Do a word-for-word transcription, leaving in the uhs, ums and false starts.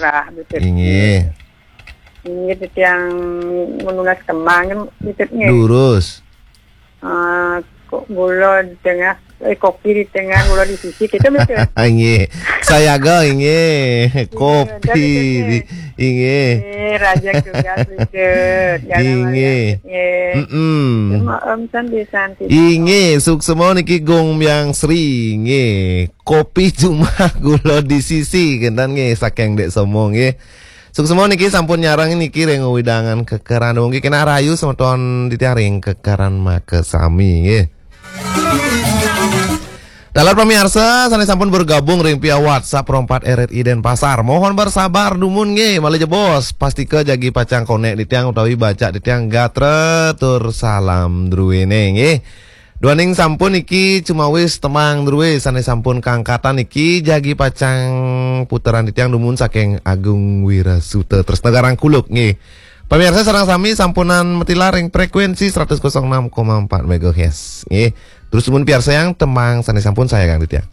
Rah, betul. Inggih. Inggih, titiang menunas kemang, betul, nggih. Durus. Eh, kok gula di tengah, eh, kopi di tengah, gula di sisi, gitu, betul. Inggih. Sayaga, inggih. Kopi, betul, di, inggih. Eh, raja tugas, betul. Jangan inggih. Marah, nggih. Mm-mm. Cuma Om Santi, Santi. Inggih, suksma niki Gung Myang Sri, nggih. Kopi cuma gula di sisi, kenten nggih, saking Dek Somo, nggih. Suksma niki sampun nyareng niki ring wewidangan Kekeran. Nggih, kena rahayu semeton titiang ring Kekeran makasami, nggih. Taler pamiarsa, sane sampun bergabung ring via WhatsApp Pro Empat R R I Denpasar. Mohon bersabar dumun nggih, malih jebos. Pastika jagi pacang konek titiang utawi baca titiang gatra tur salam druene nggih. Duaning sampun niki cumawis tembang druwe sane sampun kangkatan niki jagi pacang puteran titiang dumun saking Agung Wirasuta Tresna Garang Kuluk nggih. Pamiarsa sareng sami sampunang matilar ring frekuensi seratus kosong enam koma empat megahertz nggih. Terus dumun piarsayang tembang sane sampun sayagang titiang.